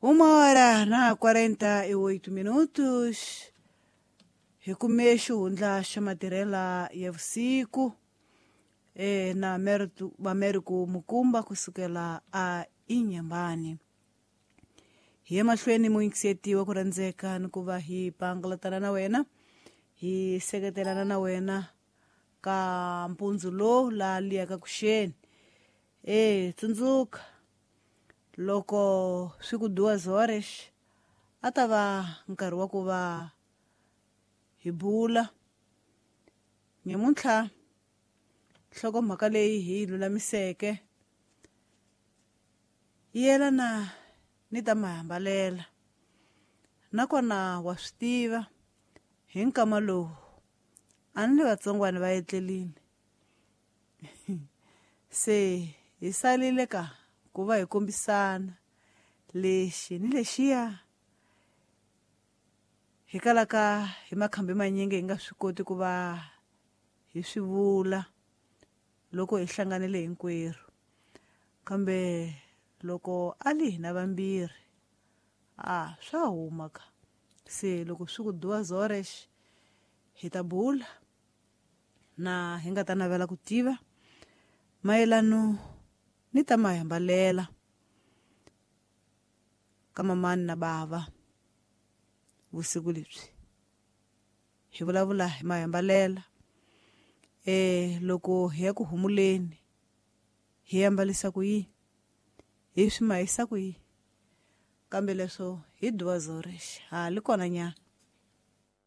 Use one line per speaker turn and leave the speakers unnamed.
1:48 hi kume xihundla xa matirhela ya vusiku na Americo Mukumba kusukela a Inyambani. Hi emahlweni muyingisetiwa ku rhandzeka ni ku va hi pangalatana na wena, hi seketelana na wena ka mpundzu lowu laha liyaka kuxeni. Tsundzuka loko swi ku 2:00 a ta va nkarhi wa ku va hi bula. Nyamuntlha nhlokomhaka leyi hi lulamiseke yi yelana ni ta mahambalela, nakona wa swi tiva hi nkama lowu a ni le vatsongwana va etlelini se hi salile ka ku va hi kombisana lexi ni lexiya hi kalaka hi makhambi manyingi hi nga swi koti ku va hi swi vula loko hi hlanganile hinkwerhu. Kambe loko a li hina vambirhi a swa huma ka. Se loko swi ku 2:00 hi ta bula na hi nga ta navela ku tiva mayelano ni ta mahambalela ka mamani na bava vusiku lebyi. Hi vulavula hi mahambalela loko hi ya ku humuleni hi ambalisa ku yini, hi swi mahisa ku yini, kambe leswo hi 2:00 ha li kona nyana.